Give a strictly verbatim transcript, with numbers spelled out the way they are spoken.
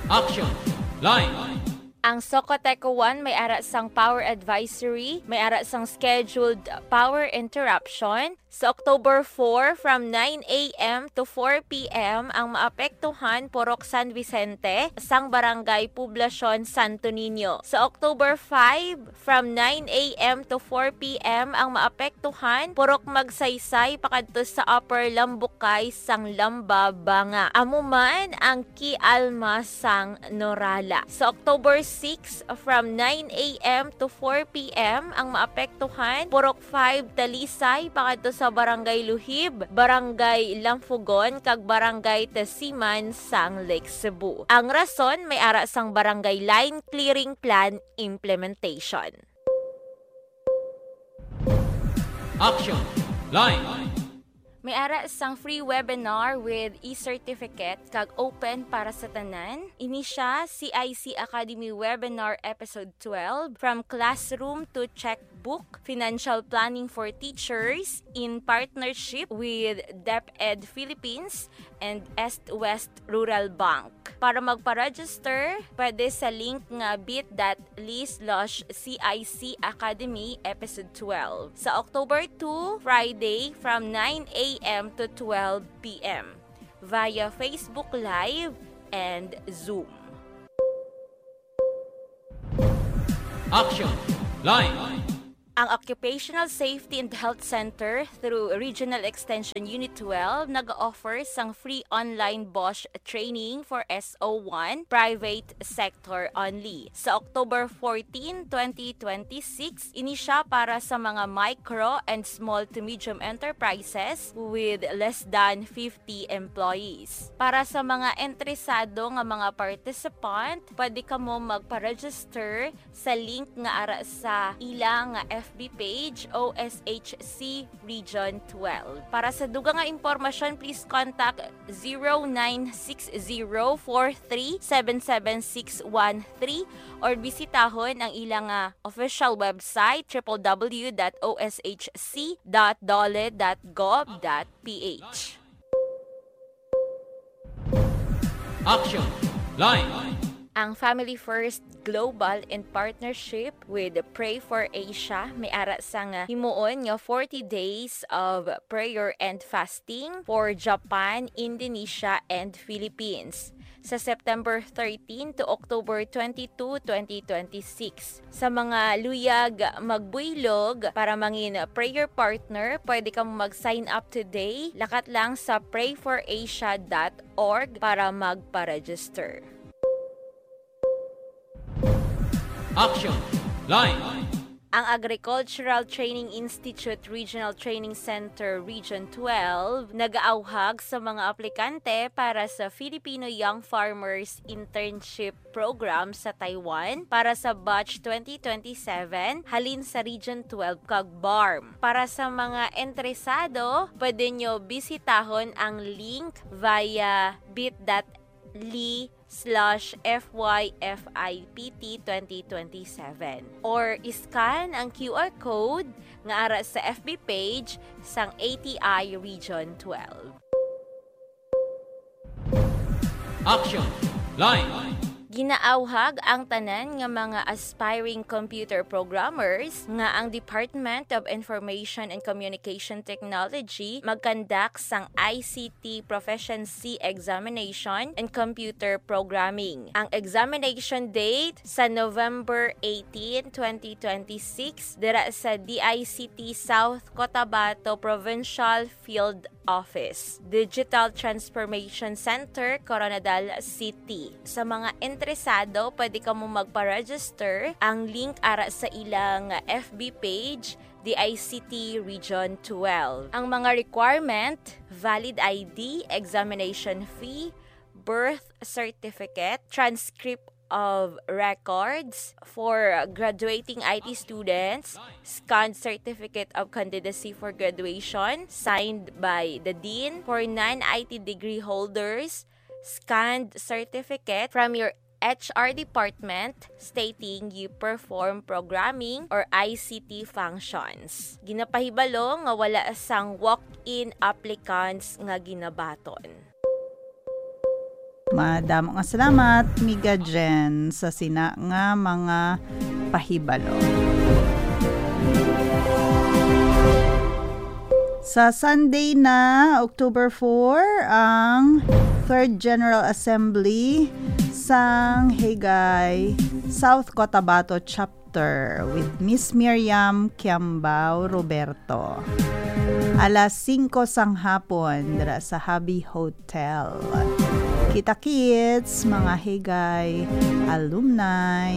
Action! Line! Ang Socoteco one may ara sang power advisory, may ara sang scheduled power interruption sa October four from nine a m to four p m. Ang maapektuhan purok San Vicente sang Barangay Poblacion Santo Niño. Sa October five, from nine a m to four p m, ang maapektuhan purok Magsaysay pakadto sa Upper Lambukay sang Lamba, Banga. Amo man ang Kialma sang Norala. Sa October six, from nine a m to four p m, ang maapektuhan purok five Talisay pakadto sa Barangay Luhib, Barangay Lampugon, kag Barangay Tasiman sang Lake Cebu. Ang rason may ara sang Barangay Line Clearing Plan implementation. Action! Line! May ara sang free webinar with e-certificate kag open para sa tanan. Ini sia C I C Academy Webinar Episode twelve, From Classroom to Checkbook, Financial Planning for Teachers, in partnership with DepEd Philippines and East West Rural Bank. Para magpa-register, pwede sa link nga bit dot l y slash C I C Academy Episode twelve. Sa October two, Friday, from nine a m to twelve p m via Facebook Live and Zoom. Action! Line! Ang Occupational Safety and Health Center through Regional Extension Unit twelve nag-offer sang free online BOSH training for S O one, private sector only. Sa October fourteen, twenty twenty-six, ini sia para sa mga micro and small to medium enterprises with less than fifty employees. Para sa mga interesado nga mga participant, pwede kamo magpa-register sa link nga ara sa ila nga F B page, O S H C Region twelve. Para sa dugang nga impormasyon, please contact zero nine six zero four three seven seven six one three or bisitahon ang ila nga official website, triple W dot O S H C dot dole dot gov dot P H. Action! Line! Ang Family First Global, in partnership with Pray for Asia, may ara sang himuon nga forty days of prayer and fasting for Japan, Indonesia, and Philippines sa September thirteen to October twenty-two, twenty twenty-six. Sa mga luyag magbuylog para mangin prayer partner, pwede kamo mag-sign up today. Lakat lang sa pray for asia dot org para magpa-register. Action! Line! Ang Agricultural Training Institute Regional Training Center Region twelve nagaawhag sa mga aplikante para sa Filipino Young Farmers Internship Program sa Taiwan para sa batch twenty twenty-seven halin sa Region twelve kag BARMM. Para sa mga interesado, pwede nyo bisitahon ang link via bit dot l y slash F Y F I P T twenty twenty-seven or iscan ang Q R code nga ara sa F B page sang A T I Region twelve. Action! Line! Ginaawhag ang tanan nga mga aspiring computer programmers nga ang Department of Information and Communication Technology magkandak sang I C T Proficiency Examination in Computer Programming. Ang examination date sa November eighteen, twenty twenty-six, dira sa D I C T South Cotabato Provincial Field Office, Digital Transformation Center, Koronadal City. Sa mga interesado, pwede kamo magpa-register. Ang link ara sa ilang F B page, D I C T Region twelve. Ang mga requirement: valid I D, examination fee, birth certificate, transcript of records for graduating I T students, scanned certificate of candidacy for graduation signed by the dean for non-I T degree holders, scanned certificate from your H R department stating you perform programming or I C T functions. Ginapahibalo nga wala sang walk-in applicants nga ginabaton. Madamo nga salamat, Miga Jen, sa sina nga mga pahibalo. Sa Sunday na, October four, ang Third General Assembly sang Higay South Cotabato Chapter with Miss Miriam Kiambao Roberto. Alas singko sang hapon, dira sa Hobby Hotel. Kita-kits, mga Higay alumni.